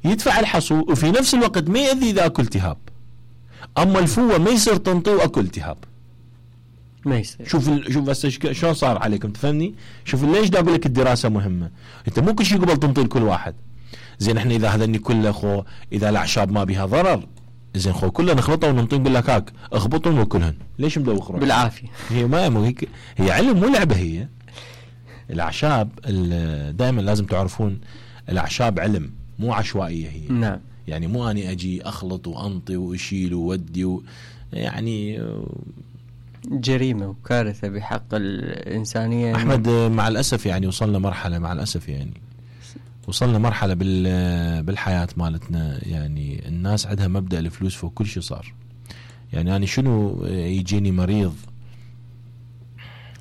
يدفع الحصو وفي نفس الوقت ما يأذي إذا أكل التهاب. أما الفوة ما يصير تنطي وأكل التهاب، ما يصير. شوف هسه شلون صار عليكم، تفهمني؟ شوف ليش دا أقول لك الدراسة مهمة. أنت مو كل شيء قبل تنطي لكل واحد. زين احنا إذا هذني كله خو إذا الأعشاب ما بها ضرر، زين خو كله نخلطه وننطيه نقول لك هاك اخبطهم وكلهن، ليش مدوخ روحك؟ بالعافية. هي ما هي علم مو لعبة. هي الأعشاب دائما لازم تعرفون الأعشاب علم مو عشوائية. هي نعم. يعني مو أني أجي أخلط وأنطي وأشيل وودي يعني جريمة وكارثة بحق الإنسانية. أحمد مع الأسف يعني وصلنا مرحلة، مع الأسف يعني وصلنا مرحلة بالحياة مالتنا، يعني الناس عندها مبدأ الفلوس فوق كل شيء صار. يعني أنا شنو يجيني مريض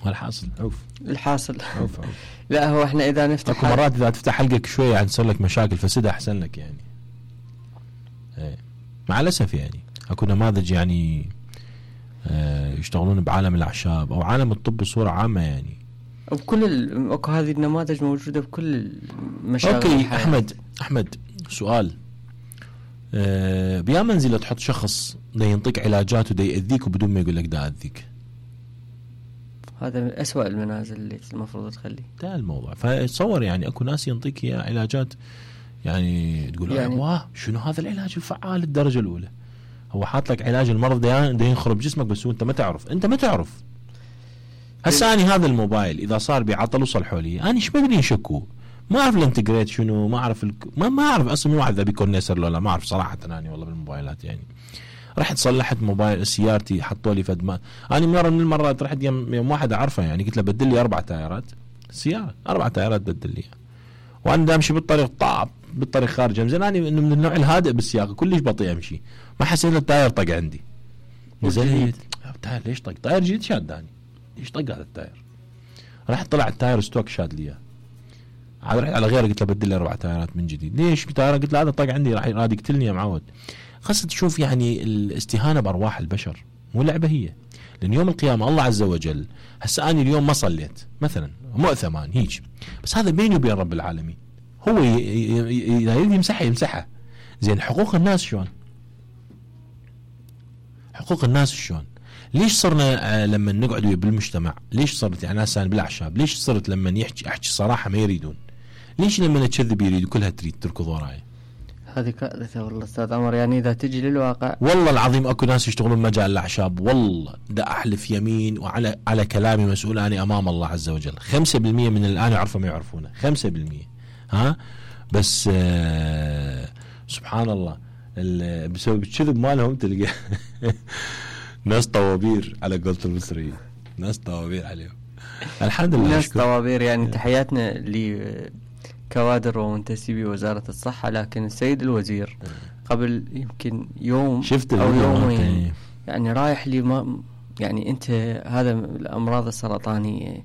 والحاصل الحاصل عوف. لا هو احنا إذا نفتح اكو مرات إذا تفتح حلقك شوية يعني تصير لك مشاكل فسدها أحسن لك يعني. مع الأسف يعني اكو نماذج يعني يشتغلون بعالم الأعشاب أو عالم الطب بصورة عامة يعني. اكو هذه النماذج موجودة بكل المشاغل. اوكي احمد سؤال، بيا منزلة تحط شخص دا ينطيك علاجات ودا يأذيك وبدون ما يقول لك دا أذيك، هذا من أسوأ المنازل اللي المفروض تخليه. ده الموضوع. فتصور يعني اكو ناس ينطيك يا علاجات يعني تقول يعني واه شنو هذا العلاج الفعال للدرجة الأولى. هو حاط لك علاج المرض ده ينخرب جسمك بس انت ما تعرف. هسه اني هذا الموبايل اذا صار بعطل وصلحوا لي انا ايش بدري يشكوا، ما اعرف الانتجريت شنو، ما اعرف ما اعرف اصلا من واحد ذا بيكونسر ولا ما اعرف صراحه. انا والله بالموبايلات يعني رحت صلحت موبايل سيارتي حطوا لي فد ما انا مره من المرات رحت يوم واحد اعرفه يعني قلت له بدل لي 4 تايرات سياره، 4 تايرات بدل لي، وانا دا امشي بالطريق بالطريق خارج زين اني انه من النوع الهادئ بالسياقه كلش بطيء امشي، ما حسيت التاير طق عندي. نزلت التاير ليش طق؟ تاير جديد شاداني، ليش طق هذا التاير؟ رحت طلع التاير ستوك شاد لي، عاد رحت على غيره قلت له بدل لي 4 تايرات من جديد. ليش بتاير؟ قلت له هذا طق عندي راح يقتلني يا معود. خاصة تشوف يعني الاستهانة بأرواح البشر مو لعبة هي، لأن يوم القيامة الله عز وجل هسه أنا اليوم ما صليت مثلا مؤثم هيك، بس هذا بيني وبين رب العالمين، هو إذا يريد يمسحها. زين حقوق الناس شلون؟ حقوق الناس شلون؟ ليش صرنا لما نقعد بالمجتمع ليش صرت يعني ناس بالأعشاب ليش صرت لما أحكي صراحة ما يريدون؟ ليش لما نكذب يريدوا كلها تريد تركض وراي؟ هذه كارثة والله أستاذ عمر. يعني إذا تجي للواقع والله العظيم أكو ناس يشتغلون مجال الأعشاب، والله ده أحلف يمين وعلى كلامي مسؤول أنا أمام الله عز وجل. 5% من الآن يعرفوا ما يعرفونه، 5%. ها بس سبحان الله بسبب الكذب مالهم تلقى ناس طوابير على قولة المصريين، ناس طوابير عليهم. الحمد لله ناس طوابير يعني. تحياتنا لكوادر ومنتسبي وزارة الصحة. لكن السيد الوزير قبل يمكن يوم شفت أو يومين يعني رايح لي ما يعني أنت هذا الأمراض السرطانية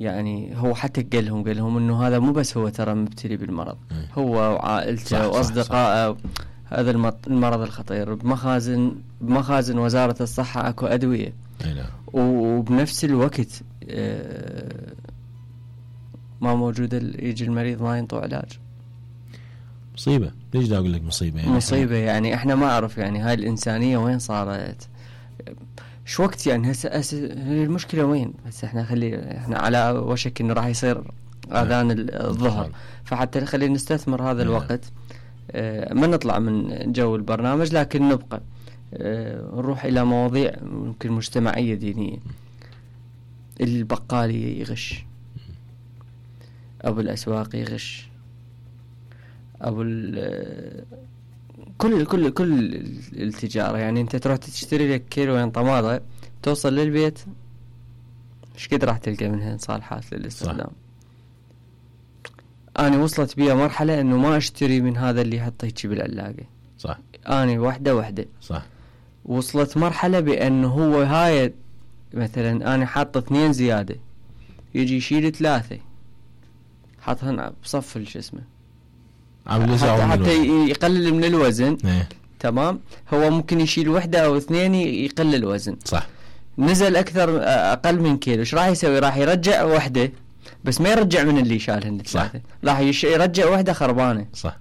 يعني هو حتى قال لهم إنه هذا مو بس هو ترى مبتلي بالمرض، هو وعائلته وأصدقائه. هذا المرض الخطير بمخازن وزارة الصحة أكو أدوية، وبنفس الوقت ما موجودة يجي المريض ما ينطوا علاج. مصيبة. ليش دا أقول لك مصيبة يعني؟ مصيبة يعني احنا ما أعرف يعني هاي الإنسانية وين صارت، شو وقت يعني هسه المشكلة وين؟ بس احنا على وشك إنه راح يصير آذان الظهر، فحتى خلينا نستثمر هذا الوقت ما نطلع من جو البرنامج، لكن نبقى نروح إلى مواضيع ممكن مجتمعية دينية. البقال يغش، أبو الأسواق يغش، أبو كل التجارة. يعني أنت تروح تشتري لك كيلو طماطة توصل للبيت إيش قد راح تلقى منها صالحات للاستخدام. أنا وصلت بيا مرحلة إنه ما أشتري من هذا اللي يحطه يجي بالعلاقة. صح. أنا واحدة. صح. وصلت مرحلة بأنه هو هاي مثلا أنا حاطة 2 زيادة يجي يشيل 3 حاطهن بصف الجسمه حتى يقلل من الوزن. تمام. هو ممكن يشيل 1 أو 2 يقلل الوزن. صح. نزل أقل من كيلو إيش راح يسوي؟ راح يرجع 1 بس ما يرجع من اللي شالهن 3، راح يرجع 1 خربانة. صح.